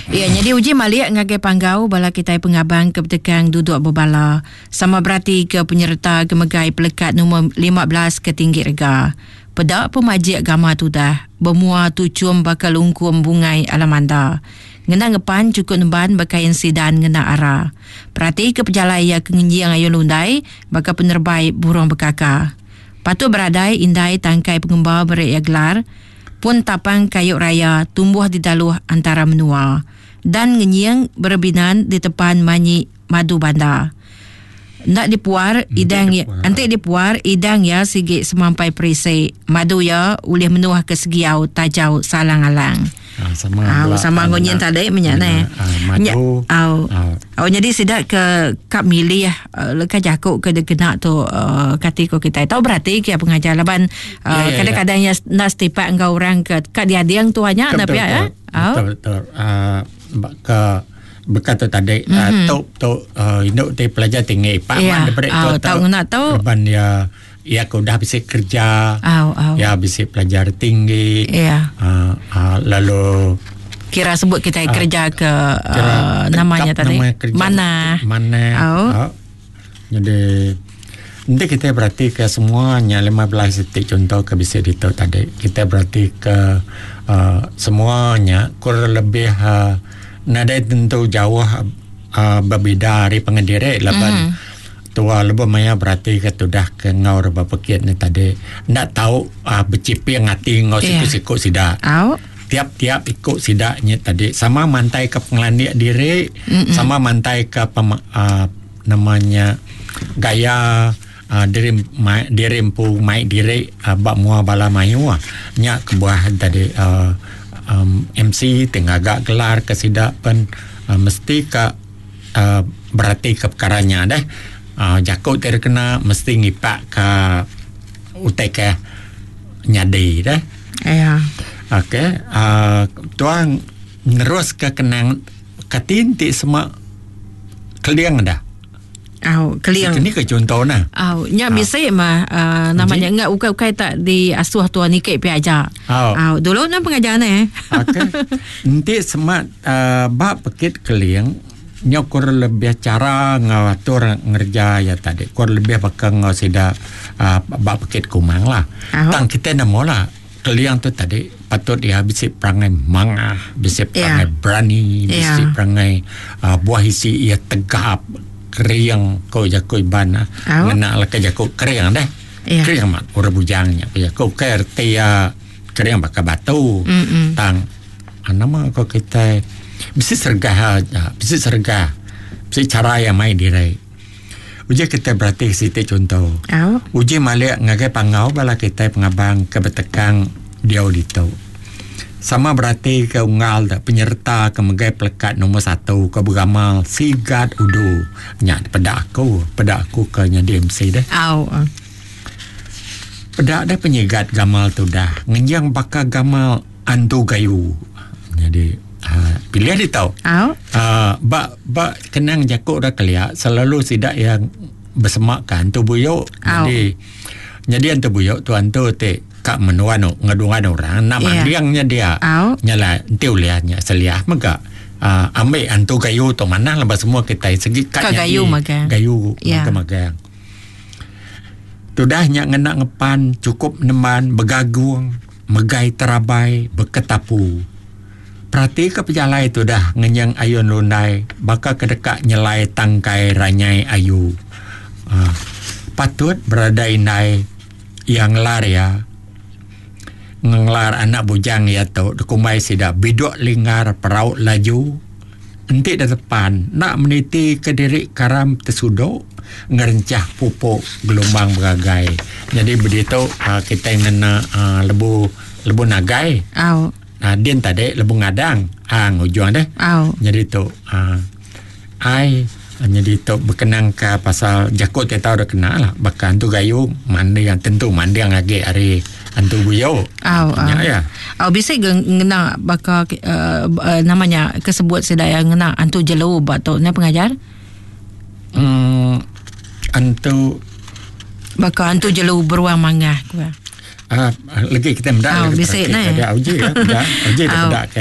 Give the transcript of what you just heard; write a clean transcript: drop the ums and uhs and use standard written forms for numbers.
Iya nyadi uji malik ngagai panggau bala kitai pengabang ke betekang duduk bebala sama berati ke penyereta ke megai pelekat numur 15 ke tinggi rega. Peda pemajik gama tudah bemua tuchum baka lungkum bungai alamanda. Ngena ngepan chukup nemban bekain sidan ngena ara. Perati ke pejalai iya ke ngenjing ayun lundai baka penerebai burung bekaka. Patut beradai indai tangkai pengemba beri iya gelar pun tapang kayu raya tumbuh di daluh antara menua. Dan ngenying berebinan ditepan manyi madu banda. Enda dipuar idang iya, enti dipuar idang iya sigi semampai perisi. Madu iya ulih menuh ke segiau tajau salang alang. Ah, sama Au, bela sama ngena ngunyin tadi menya ngena neh. ah, Nya madu. au. Ah. Au nyadi sida ke ka milih uh, leka jaku ke dikena tu uh, kati ko kitai. Tau berati ke pengajar laban Ya, uh, ya, ya. kadang-kadang ya enda setipak enggau orang ke ka diading tu nya Betul, na pia betul. eh. Au. Betul, betul. Ah, ke beka tu tadi mm-hmm. uh, tu tu uh, indu ti pelajar tinggi pak yeah. man daripada tu tau ngena tu laban ya ya ke udah bisi kerja au au ya bisi pelajar tinggi ya uh, uh, lalu kira sebut kita uh, kerja ke kira uh, namanya tadi nama kerja mana mana au uh, jadi nanti kita berarti ke semuanya 15 detik contoh ke bisa dito tadi kita berarti ke uh, semuanya kurang lebih uh, nadai tentu jauh uh, berbeda ari pengendiri laban tua lebuh maya berarti ke tudah ke ngau reba pekit ni tadi enda tau uh, beciping ati ngau Iya. siku-siku sida au tiap-tiap ikut sida nya tadi sama mantai ke pengelandik diri sama mantai ke pem, uh, namanya gaya uh, diri ma, diri empu mai diri uh, bak mua bala mayu ah. Nya kebuah tadi uh, um, MC tengah agak gelar ke sida pen uh, mesti ke uh, berarti ke perkaranya deh. Uh, jakut ti kena mesti ngipak ke utai ke nyadi deh. ya Okey, uh, tuan nerus ke kenang katin ti semak keling dah. Au keling Ini ke contoh nah. Au nya bisi mah uh, namanya enggak ukai-ukai tak diasuh tuan nikik pi aja. Au. Au dulu nam pengajar ne. Okey. Enti semak uh, bab pekit keling nyo kurang lebih cara ngatur ngerja ya tadi. Kurang lebih bakal ngau sida uh, bab pekit kumang lah. Au. Tang kita nemu lah keling tu tadi patut dia bisi perangai mangah, bisi perangai Ya. berani, bisi Ya. perangai uh, buah isi ia tegap kering ko jako iban ah. Au. Ngena lah ke jako kering deh. Ya. Kering mat orang bujangnya ko jako ke erti ya kering bakal batu. Mm-mm. Tang ah, nama ko kita bisi sergah ah, bisi sergah. Bisi cara yang main diri. Uji kita berarti siti contoh. Au. Uji malik ngagai pangau bala kita pengabang ke betekang dia dito. Sama berarti ke unggal dak penyerta ke megai pelekat nombor 1 ke beramal sigat udu. Nya peda aku ke nya DMC deh. Au. Peda dah penyegat gamal tu dah. Ngenjang bakal gamal antu gayu. Jadi uh, pilih dia tau. Au. Uh, bak bak kenang jakuk dah keliak selalu sidak yang bersemak kan antu buyuk. Au. Jadi jadi antu buyuk tu antu te kak menuan ngedungan orang nak Ya. mandiangnya dia. Au. Nyala enti uliahnya seliah mega. Uh, ambil antu gayu tu mana lepas semua kita segi kat Kak gayu magang. Gayu Ya. magang. Tudah nya ngena ngepan cukup neman begagung megai terabai beketapu. Perhati ke pejalai tu dah ngenyang ayun lundai bakal kedekak nyelai tangkai ranyai ayu. Uh, patut berada indai yang lar ya. Ngelar anak bujang ya tu dekumai sida biduk lingar perauk laju. Entik dah depan nak meniti ke diri karam tersuduk ngerencah pupuk gelombang beragai. Jadi begitu uh, kita ngena uh, lebu lebu nagai. Au. Nah, din tadi lebu ngadang. Ah ngujung deh. Au. Jadi tu uh, ai jadi tu berkenang ke pasal jakut kita tahu dah kena lah. Bahkan tu gayu mandi yang tentu mandi yang lagi hari antu buyau. Au. Ya, Au. ya. Au bisi ge ngena baka uh, uh, namanya kesebut sida yang ngena antu jelu ba tu ne pengajar. Antu Baka antu jelu beruang mangah ku. Ah, lagi kita mendak Au, lagi bisik perhati ne. ke dia uji ya, mendak. Uji dia Au. mendak ke.